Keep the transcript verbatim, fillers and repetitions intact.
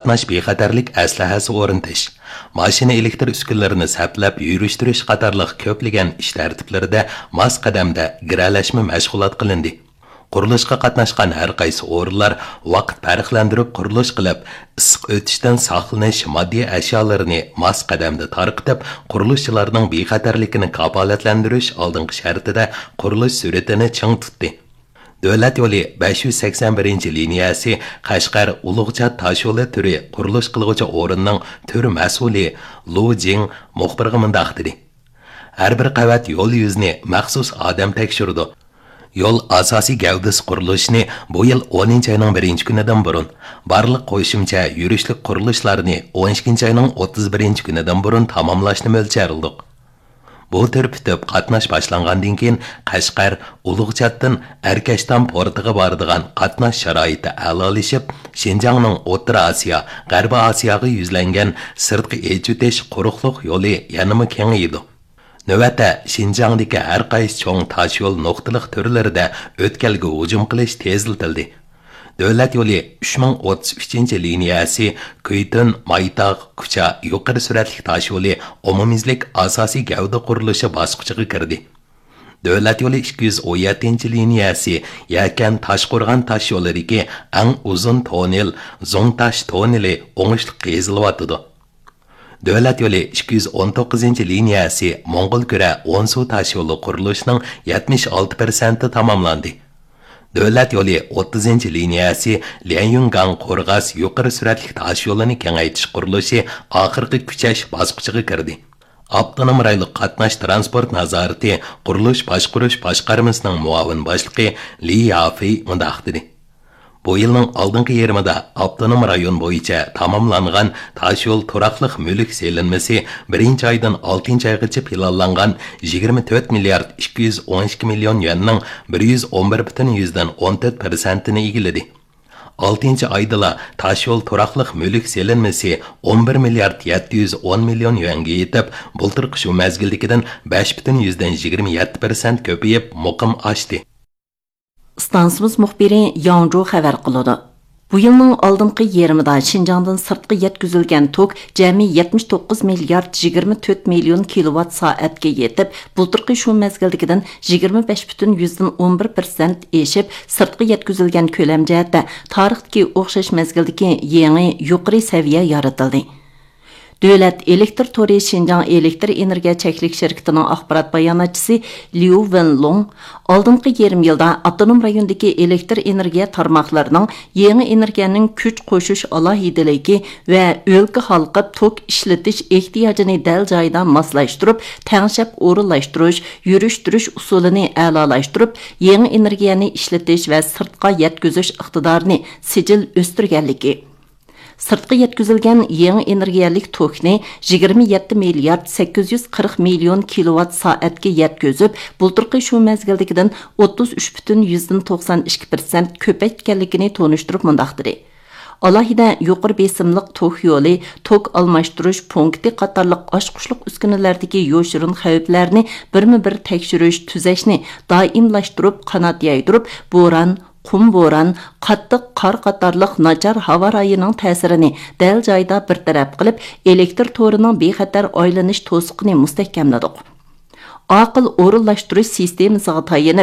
قاتناش بىخەتەرلىك ئەسلىھەسى ئورنىتىش، ماشىنا ئېلېكتر ئۈسكۈنىلىرىنى سەپلەپ يۈرۈشتۈرۈش قاتارلىق كۆپلىگەن ئىش تەرتىپلىرىدە ماس قەدەمدە گىرەلەشمە مەشغۇلات قىلىندى. قۇرۇلۇشقا قاتناشقان ھەر قايسى ئورۇنلار ۋاقىت پەرقلەندۈرۈپ قۇرۇلۇش قىلىپ، ئىسسىق ئۆتۈشتىن ساقلىنىش ماددىي ئەشيالىرىنى ماس قەدەمدە تارقىتىپ، قۇرۇلۇشچىلارنىڭ بىخەتەرلىكىنى كاپالەتلەندۈرۈش ئالدىنقى شەرتىدە قۇرۇلۇش سۈرئىتىنى چىڭ تۇتتى. دۆلەت يولى بەش يۈز سەكسەن بىرىنچى لىنىيەسى قەشقەر ئۇلۇغچات تاشيولى تۈرى قۇرۇلۇش قىلغۇچى ئورۇننىڭ تۈر مەسئۇلى لۇ جىڭ مۇخبىرغا مۇنداق دېدى: ھەر بىر قەۋەت يول يۈزىنى مەخسۇس ئادەم تەكشۈرىدۇ. يول ئاساسىي گەۋدىسى قۇرۇلۇشىنى بۇ يىل ئونىنچى ئاينىڭ بىرىنچى كۈنىدىن بۇرۇن، بارلىق قوشۇمچە يۈرۈشلۈك قۇرۇلۇشلارنى ئون ئىككىنچى ئاينىڭ ئوتتۇز بىرىنچى كۈنىدىن بۇرۇن تاماملاشنى مۆلچەرلىدۇق. بۇ تۈر پۈتۈپ قاتناش باشلانغاندىن كېيىن، قەشقەر، ئۇلۇغچاتتىن ئەركەشتام پورتىغا بارىدىغان قاتناش شارائىتى ئەلالىشىپ، شىنجاڭنىڭ ئوتتۇرا ئاسىيا، غەربىي ئاسىياغا يۈزلەنگەن سىرتقا ئېچىۋېتىش قۇرۇقلۇق يولى يەنىمۇ كېڭىيىدۇ. نۆۋەتتە، شىنجاڭدىكى ھەر قايسى چوڭ تاشيول نۇقتىلىق تۈرلىرىدە ئۆتكەلگە ھۇجۇم قىلىش تېزلىتىلدى. دۆلەت يولى ئۈچ مىڭ ئوتتۇز ئۈچىنچى لىنىيەسى كۈيتۈن، مايتاغ، كۇچا يۇقىرى سۈرئەتلىك تاشيولى ئومۇميۈزلۈك ئاساسىي گەۋدە قۇرۇلۇشى باسقۇچىغا كىردى. دۆلەت يولى ئىككى يۈز ئون يەتتىنچى لىنىيەسى يەكەن تاشقورغان تاشيولىدىكى ئەڭ ئۇزۇن توننېل زوڭتاش توننېلى ئوڭۇشلۇق قېزىلىۋاتىدۇ. دۆلەت يولى ئىككى يۈز ئون توققۇزىنچى لىنىيەسى موڭغۇلكۈرە ئونسۇ تاشيولى قۇرۇلۇشىنىڭ يەتمىش ئالتە پىرسەنتى تاماملاندى. دۆلەت يولى ئوتتۇزىنچى لىنىيەسى ليەنيۈنگاڭ قورغاس يۇقىرى سۈرئەتلىك تاشيولىنى كېڭەيتىش قۇرۇلۇشى ئاخىرقى كۈچەش باسقۇچىغا كىردى. ئاپتونوم رايونلۇق قاتناش تىرانسپورت نازارىتى قۇرۇلۇش باشقۇرۇش باشقارمىسىنىڭ مۇئاۋىن باشلىقى لى يافېي مۇنداق دېدى: بۇ يىلنىڭ ئالدىنقى يېرىمىدا ئاپتونوم رايون بويىچە تاماملانغان تاشيول تۇراقلىق مۈلۈك سېلىنمىسى بىرىنچى ئايدىن ئالتىنچى ئايغىچە پىلانلانغان يىگىرمە تۆت مىليارد ئىككى يۈز ئون ئىككى مىليون يۈەننىڭ بىر يۈز ئون بىر پۈتۈن يۈزدىن ئون تۆت پىرسەنتىنى ئىگىلىدى. ئالتىنچى ئايدىلا تاشيول تۇراقلىق مۈلۈك سېلىنمىسى ئون بىر مىليارد يەتتە يۈز ئون مىليون يۈەنگە يېتىپ، بۇلتۇرقى شۇ مەزگىلدىكىدىن بەش پۈتۈن يۈزدىن يىگىرمە يەتتە پىرسەنت كۆپىيىپ، مۇقىم ئاشتى. ئىستانسىمىز مۇخبىرى ياڭجۇ خەۋەر قىلىدۇ. بۇ يىلنىڭ ئالدىنقى يېرىمىدا شىنجاڭدىن سىرتقا يەتكۈزۈلگەن توك جەمئىي يەتمىش توققۇز مىليارد يىگىرمە تۆت مىليون كىلوۋات سائەتكە يېتىپ، بۇلتۇرقى شۇ مەزگىلدىكىدىن يىگىرمە بەش پۈتۈن يۈزدىن ئون بىر پىرسەنت ئېشىپ، سىرتقا يەتكۈزۈلگەن كۆلەم جەھەتتە تارىختىكى ئوخشاش مەزگىلدىكى يېڭى يۇقىرى سەۋىيە يارىتىلدى. دۆلەت ئېلېكتىر تورى شىنجاڭ ئېلېكتىر ئېنېرگىيە چەكلىك شىركىتىنىڭ ئاخبارات باياناتچىسى ليۇ ۋېنلۇڭ ئالدىنقى يېرىم يىلدا ئاپتونوم رايوندىكى ئېلېكتىر ئېنېرگىيە تارماقلىرىنىڭ يېڭى ئېنېرگىيەنىڭ كۈچ قوشۇش ئالاھىدىلىكى ۋە ئۆلكە ھالقىپ توك ئىشلىتىش ئېھتىياجىنى دەل جايىدا ماسلاشتۇرۇپ، تەڭشەپ ئورۇنلاشتۇرۇش، يۈرۈشتۈرۈش ئۇسۇلىنى ئەلالاشتۇرۇپ، يېڭى ئېنېرگىيەنى ئىشلىتىش ۋە سىرتقا يەتكۈزۈش ئىقتىدارىنى سىجىل ئۆستۈرگەنلىكى، سىرتقا يەتكۈزۈلگەن يېڭى ئېنېرگىيەلىك توكنى يىگىرمە يەتتە مىليارد سەككىز يۈز قىرىق مىليون كىلوۋات سائەتكە يەتكۈزۈپ، بۇلتۇرقى شۇ مەزگىلدىكىدىن ئوتتۇز ئۈچ پۈتۈن يۈزدىن توقسان ئىككى پىرسەنت كۆپەيتكەنلىكىنى تونۇشتۇرۇپ مۇنداق دېدى: ئالاھىدە يۇقىرى بېسىملىق توك يولى، توك ئالماشتۇرۇش پونكىتى قاتارلىق ئاچقۇچلۇق ئۈسكۈنىلەردىكى يوشۇرۇن خەۋپلەرنى بىرمۇ بىر تەكشۈرۈش، تۈزەشنى دائىملاشتۇرۇپ، قانات يايدۇرۇپ، بوران، قۇم بوران، قاتتىق قار قاتارلىق ناچار ھاۋا رايىنىڭ تەسىرىنى دەل جايىدا بىر تەرەپ قىلىپ، ئېلېكتىر تورىنىڭ بىخەتەر ئايلىنىش توسۇقىنى مۇستەھكەملىدۇق. ئاقىل ئورۇنلاشتۇرۇش سىستېمىسىغا تايىنىپ،